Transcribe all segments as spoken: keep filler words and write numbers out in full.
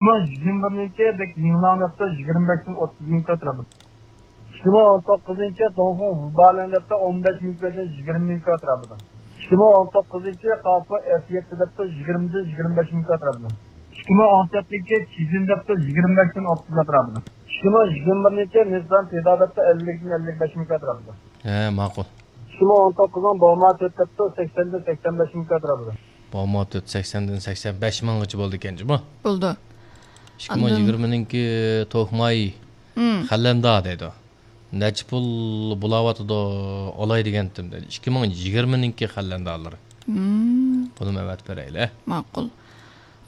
ئىككى مىڭ يىگىرمە بىرىنچى بەك يىڭلاڭ دەپتۇ، يىگىرمە بەشتىن ئوتتۇز مىڭ كاترا. ئىككى مىڭ ئون توققۇزىنچى توڭفېڭ ۋۇبالەن دەپتۇ، ئون بەش مىڭ كاترا. ئىككى مىڭ ئون توققۇزىنچى قاپۇ ئېف يەتتە دەپتۇ، يىگىرمىدىن يىگىرمە بەش مىڭ كاترا. ئىككى مىڭ ئون تۆتىنچى چىزىن دەپتۇ، يىگىرمە بەشتىن ئوتتۇز كاترا. ئىككى مىڭ يىگىرمە بىرىنچى نىسسان تىدا دەپتۇ، ئەللىكتىن ئەللىك بەش مىڭ كاترا. ھە، ماقۇل. ئىككى مىڭ ئون توققۇزنىڭ بوما تۆت دەپتۇ، سەكسەندىن سەكسەن بەش مىڭ كاترا. بوما تۆت سەكسەندىن سەكسەن بەش مىڭغىچە بولدىكەن جۇمۇ. بولدى. ئىككى مىڭ يىگىرمىنىڭكى توكماي خەللەندا دەيدۇ. نەچچە پۇل بولاۋاتىدۇ، ئالاي دېگەنتىم دەيدۇ. ئىككى مىڭ يىگىرمىنىڭكى خەللەندالىرى. بۇنىمۇ ئەۋەتىپ بېرەيلى. ماقۇل.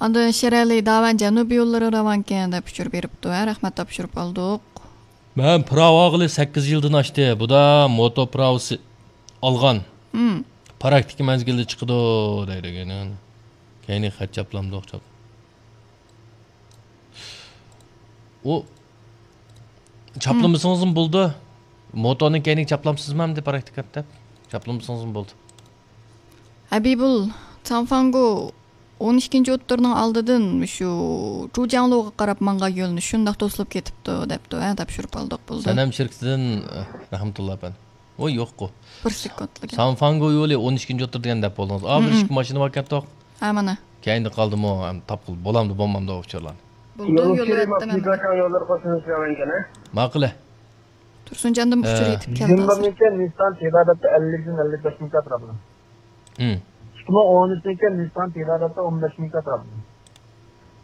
ئاندىن شېرئەلى داۋەن جەنۇبىي يوللىرى راۋانكەن دەپ ئۇچۇر بېرىپتۇ. ھە، رەھمەت، تاپشۇرۇپ ئالدۇق. مەن پىراۋ ئالغىلى سەككىز يىلدىن ئاشتى. بۇدا موتو پىراۋىسى ئالغان. پراكتىكا مەزگىلىدە چىقىدۇ دەيدۇ. كەينى خەت چاپلامدۇق چاپ. ئۇ چاپلىمىسىڭىزمۇ بولىدۇ. موتونىڭ كەينىگە چاپلامسىزمۇ ئەمدى پراكتىكا دەپ؟ چاپلىمىسىڭىزمۇ بولىدۇ. ھەبىبۇل، تاڭفاڭگو ئون ئىككىنچى ئوتتۇرىنىڭ ئالدىدىن شۇ جۇجياڭلۇغا قاراپ ماڭغان يۆنىلىش شۇنداق توسۇلۇپ كېتىپتۇ دەپتۇ. ھە، تاپشۇرۇپ ئالدۇق، بولدى. سەنەم شىركىتىدىن، رەھمەتۇللا ئەپەندى. ۋوي، يوققۇ. بىر سېكۇنتلا گەپ. سانفاڭگو يولى ئون ئىككىنچى ئوتتۇرا دېگەن دەپ بولدىڭىز. ئا، بىر ئىككى ماشىنا بار ئىكەن توق. ھە، مانا. كەينىدە قالدىمۇ، ھەم تاپقىلى بولامدۇ، بولمامدۇ ئۇچۇرلارنى. بولدى، يوللىۋەتتىم ھەممىنى. ماقۇلە. تۇرسۇنجاندىن ئۇچۇر يېتىپ كەلدى ھازىر. يىگىرمە بىرىنچى نىسسان تىدا دەپتۇ، ئەللىكتىن ئەللىك بەش مىڭ كاترا. ئىككى مىڭ ئون ئۈچىنچى نىسسان تىدا دەپتۇ، ئون بەش مىڭ كاترا.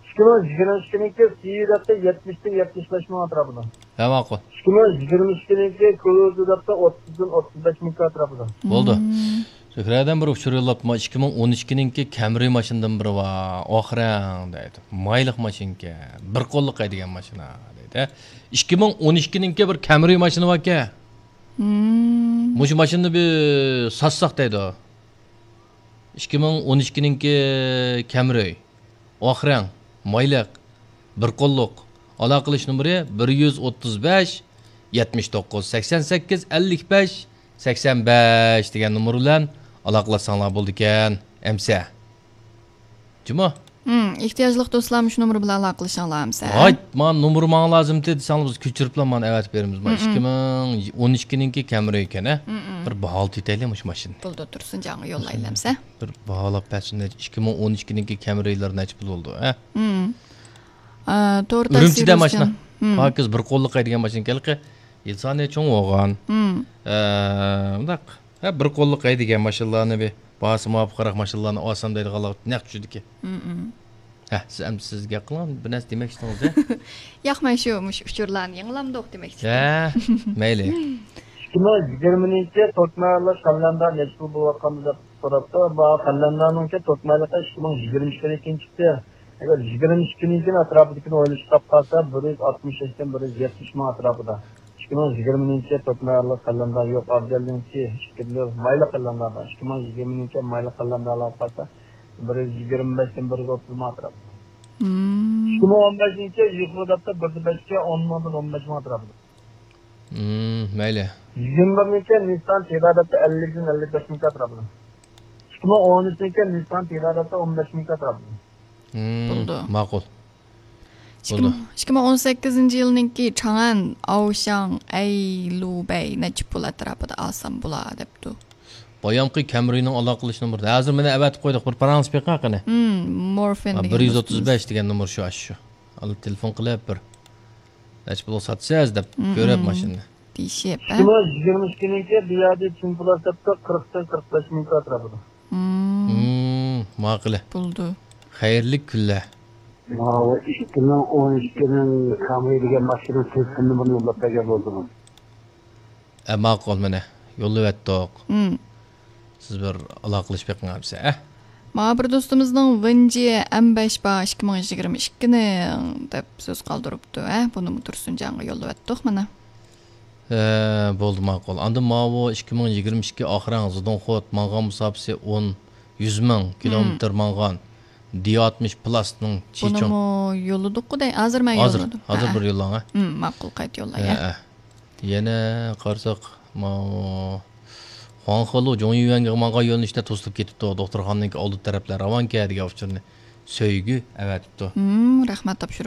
ئىككى مىڭ يىگىرمە ئىككىنچى سىيۇ دەپتۇ، يەتمىشتىن يەتمىش بەش مىڭ ئەتراپىدا. ھە، ماقۇل. ئىككى مىڭ يىگىرمە ئىككىنچى كروزا دەپتۇ، ئوتتۇزدىن ئوتتۇز بەش مىڭ ئەتراپىدا. بولدى. زۆھرەدىن بىر ئۇچۇر يوللاپتۇ، ئىككى مىڭ ئون ئىككىنىڭكى كەمرى ماشىنىدىن بىرى بار. ئاخرەڭ دەيدۇ. مايلىق ماشىنىكەن. بىر قوللۇق ھەيدىگەن ماشىنا دەيدۇ. ئىككى مىڭ ئون ئىككىنىڭكى بىر كەمرى ماشىنا باركەن. مۇشۇ ماشىنىنى بىر ساتساق دەيدۇ. ئىككى مىڭ ئون ئىككىنىڭكى كەمرى. ئاخرەڭ، مايلىق، بىر قوللۇق. ئالاقىلىشىش نومۇرى بىر يۈز ئوتتۇز بەش، يەتمىش توققۇز، سەكسەن سەككىز، ئەللىك بەش، سەكسەن بەش دېگەن نومۇر بىلەن ئالاقىلاشساڭلار بولىدىكەن، ئەمسە. جۇمۇ؟ ھىم، ئېھتىياجلىق دوستلار مۇشۇ نومۇر بىلەن ئالاقىلىشىڭلار ئەمسە. ھايت، مانا نومۇر ماڭا لازىمتى دېسەڭلار، بىز كۆچۈرۈپلا مانا ئەۋەتىپ بېرىمىز. مانا ئىككى مىڭ ئون ئىككىنىڭكى كەمرى ئىكەن، ھە؟ بىر باھالىتىپ ئېيتەيلى مۇشۇ ماشىنىنى. بولدى، تۇرسۇنجانغا يوللايلى ئەمسە. بىر باھالاپ بەرسۇن، نەچچە، ئىككى مىڭ ئون ئىككىنىڭكى كەمرىلىرى نەچچە پۇل بولىدۇ، ھە؟ ھىم. ئا، تور ئۈرۈمچىدە تەسىرى ماشىنا. ئۈچۈن. ھىم. پاكىز بىر قوللۇق ھەيدىگەن ماشىنا ئىكەنلىكى، يىل سانى چوڭ بولغان. ھىم. ئە، مۇنداق، ھە، بىر قوللۇق ھەيدىگەن ماشىنىلارنى بىر باھاسى مۇۋاپىقراق ماشىنىلارنى ئالسام دەيدىغانلار نەق چۈشىدىكى. ھىم، ھىم. ھە، سىز ئەمدى سىز گەپ قىلىڭ، بىر نەرسە دېمەكچىدىڭىز، ھە؟ ياق، مەن شۇ، مۇشۇ ئۇچۇرلارنى يېڭىلاندۇق دېمەكچىدىم. ھە، مەيلى. ئىككى مىڭ يىگىرمىنچى تۆت مايلىق قەلەندەر نەچچە پۇل بولۇۋاتقاندا دەپ سوراپتۇ. بۇ قەلەندەرنىڭكى تۆت مايلىقى ئىككى مىڭ يىگىرمە ئىككىنىڭكى چىقتى. ئەگەر يىگىرمە ئىككىنىڭكىنى ئەتراپىدىكىنى ئويلىشىپ تاپقانسا، بىر يۈز ئاتمىش بەشتىن بىر يۈز يەتمىش مىڭ ئەتراپىدا. ئىككى مىڭ يىگىرمىنىڭكى تۆت مايلىق قەلەندەر يوق، ئابدەلنىڭكى ئىككى مايلىق قەلەندەر بار. ئىككى مىڭ يىگىرمىنىڭكى مايلىق قەلەندەرلەر قالسا، بىر يۈز يىگىرمە بەشتىن بىر يۈز ئوتتۇز مىڭ ئەتراپىدا. مم. ئىككى مىڭ ئون بەشىنچى يۇقىرى دەپتە بىر بەشكە ئون مىڭدىن ئون بەش مىڭ ئەتراپىدا. مم، مەيلى. يىگىرمە بىرىنچى نىسسان تىدا دەپتە ئەللىكتىن ئەللىك بەش مىڭ ئەتراپىدا. ئىككى مىڭ ئون ئۈچىنچى نىسسان تىدا دەپتە ئون بەش مىڭ ئەتراپىدا. مم، بولدى. ماقۇل. بولدى. ئىككى مىڭ ئون سەككىزىنچى يىلنىڭكى چاڭئەن، ئاۋشاڭ، ئەيلۇبەي نەچچە پۇل ئەتراپىدا ئالسام بولا دەپتۇ. بايامقى كەمرىنىڭ ئالاقىلىشىش نومۇرى. ھازىر مانا ئەۋەتىپ قويدۇق، بىر پاراڭلىشىپ بېقىڭ قېنى. مم، مورفىن ھە، دېگەن بىر يۈز ئوتتۇز بەش دوستىمىز. دېگەن نومۇر شۇ، ئاشۇ شۇ. ئالا تېلېفون قىلىپ بىر نەچچە پۇلغا ساتىسىز دەپ مم، كۆرۈپ ماشىنىنى. دېيىشىپ، ھە؟ شۇڭا يىگىرمە ئىككىنىڭكى بۇ يەردە چىن پۇل ھېسابتا قىرىقتىن قىرىق بەش مىڭ ئەتراپىدا. مم. مم، ماقۇل. بولدى. خەيرلىك كۈنلەر. ماۋۇ ئىككى مىڭ ئون ئىككىنىڭ كامرى دېگەن ماشىنا تېلېفون نومۇرىنى يوللاپ بەرگەن بولدىڭىز. ئە، ماقۇل، مانا، يوللىۋەتتۇق. مم. سىز بىر ئالاقىلىشىپ بېقىڭ ئەمسە، ئە؟ مانا بىر دوستىمىزنىڭ ۋېنجى ئەم بەش بار، ئىككى مىڭ يىگىرمە ئىككىنىڭ دەپ سۆز قالدۇرۇپتۇ، ئە؟ بۇنىمۇ تۇرسۇنجانغا يوللىۋەتتۇق، مانا. ئە، بولدى، ماقۇل. ئاندىن ماۋۇ ئىككى مىڭ يىگىرمە ئىككى ئاخىرەڭ زىدوڭخوت ماڭغان مۇساپىسى ئون، يۈز مىڭ كىلومېتىر ماڭغان. دى ئاتمىش پلاسنىڭ چىچوڭ. بۇنىمۇ يوللىدۇققۇ دەي، ھازىر مەن يوللىدىم. ھازىر، ھازىر بىر يوللاڭ، ھە؟ مم، ماقۇل، قايتا يوللاي، ھە. يەنە قارىساق، ماۋۇ خۇاڭخېلۇ جۇڭيۈەنگە ماڭغان يۆنىلىشتە توسۇلۇپ كېتىپتۇ. دوختۇرخانىنىڭكى ئالدى تەرەپلەر راۋانكە دېگەن ئۇچۇرنى. سۆيگۈ ئەۋەتىپتۇ. ھىم، رەھمەت تاپشۇرۇپ.